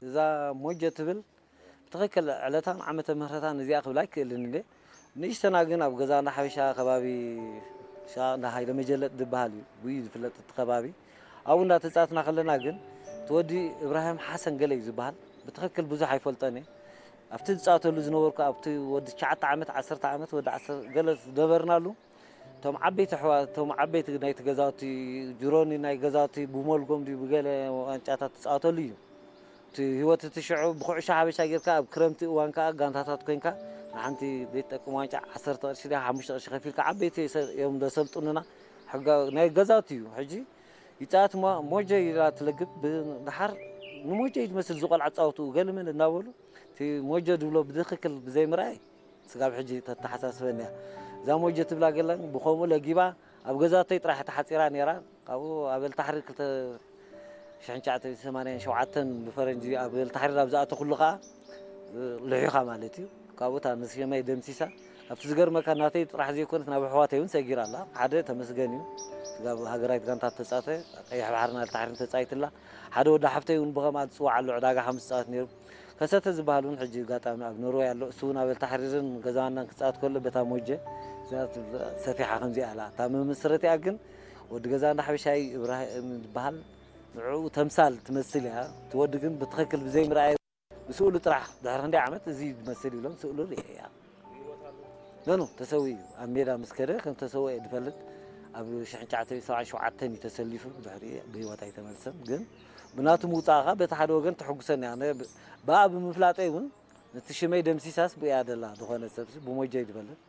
እዛ ሞጀ ትብል ብትኽክል ዕለታን ዓመተ ምህረታን እዚኣ ክብል ኣይክእልን እንዴ። ንእሽተና ግን ኣብ ገዛ እንዳ ሓበሻ ከባቢ ሻቕ እንዳ ሃይለ መጀለጥ ዝበሃል እዩ ብኡ እዩ ዝፍለጥ እቲ ከባቢ። ኣብኡ እንዳተፃትና ከለና ግን እቲ ወዲ እብራሂም ሓሰን ገለ እዩ ዝበሃል። ብትኽክል ብዙሕ ኣይፈልጦን እየ። ኣብቲ ዝፃወተሉ ዝነበርኩ ኣብቲ ወዲ ትሽዓተ ዓመት ዓሰርተ ዓመት ወዲ ዓሰርተ ገለ ዝነበርናሉ እቶም ዓበይቲ ኣሕዋት እቶም ዓበይቲ ናይቲ ገዛውቲ ጅሮኒ ናይ ገዛውቲ ብሞልጎም ድዩ ብገለ ዋንጫታት ትፃወተሉ እዩ። እቲ ህይወት እቲ ሽዑ ብኩዕሾ ሓበሻ ጌርካ ኣብ ክረምቲ እዋን ከዓ ጋንታታት ኮይንካ ንሓንቲ ዘይትጠቅም ዋንጫ ዓሰርተ ቅርሺ ድያ ሓሙሽተ ቅርሺ ከፊልካ ዓበይቲ ሰብ እዮም ዘሰልጥኑና። ሕጋ ናይ ገዛውቲ እዩ። ሕጂ ይፃወት ሞ- ሞጀ ኢላ ትለግብ ብድሓር ንሞጀ እዩ ዝመስል ዝቆልዓ ፃወትኡ ገለመለ እናበሉ እቲ ሞጀ ድብሎ ብትኽክል ብዘይምርኣይ ስጋብ ሕጂ ተተሓሳስበኒ እያ። እዛ ሞጀ ትብላ ገላን ብኸምኡ ለጊባ ኣብ ገዛተይ ጥራሕ ተሓፂራ ነይራ። ካብኡ ኣብ ኤልታሕሪ ክልተ ሽሕን ትሽዓተ ሚእትን ሰማንያን ሸውዓተን ብፈረንጂ ኣብ ኤልታሕሪ ናብ ዝኣተኹሉ ከዓ ልሒኻ ማለት እዩ። ካብኡ እታ ንስመይ ደምሲሳ ኣብቲ ዝገርመካ ናተይ ጥራሕ ዘይኮነት ናብ ኣሕዋተይ እውን ሰጊራ ኣላ። ሓደ ተመስገን እዩ። ስጋብ ሃገራዊት ጋንታ ተፃተ ቀይሕ ባሕርን ኤልታሕርን ተፃይትላ። ሓደ ወዲ ሓፍተይ እውን ብኸምኣ ዝፅዋዕ ኣሎ ዕዳጋ ሓሙስ ፃወት ነይሩ። ከሰተ ዝበሃል እውን ሕጂ ኣጋጣሚ ኣብ ኖርወይ ኣሎ። እሱ እውን ኣብ ኤልታሕሪርን ገዛዋናን ክፃወት ከሎ በታ ሞጀ እዛ ትብላ ሰፊሓ ከምዚኣ ኣላ። እታ መመስረቲኣ ግን ወዲ ገዛ እንዳ ሓበሻይ እብራሂም ዝበሃል ንዕኡ ተምሳል ትመስል እያ። እቲ ወዲ ግን ብትኽክል ብዘይምርኣይ ብስእሉ ጥራሕ ድሕሪ ክንደይ ዓመት እዚ ዝመስል ኢሎም ስእሉ ርእየ እያ። ገኑ ተሰዊኡ እዩ። ኣብ ሜዳ ምስ ከደ ከም ተሰወአ እየ ዝፈልጥ። ኣብ ሽሕን ትሽዓተ ሚእትን ሰብዓን ሸውዓተን እዩ ተሰሊፉ። ብድሕሪ ብህይወት ኣይተመልሰን። ግን ብናቱ ምውፃእኻ በቲ ሓደ ወገን ተሐጉሰኒ እያ። ኣነ ብ- ብኣ ብምፍላጠይ እውን ነቲ ሽመይ ደምሲሳስ ብእያ ደላ ዝኾነ ሰብሲ ብሞጀ እዩ ዝፈልጥ።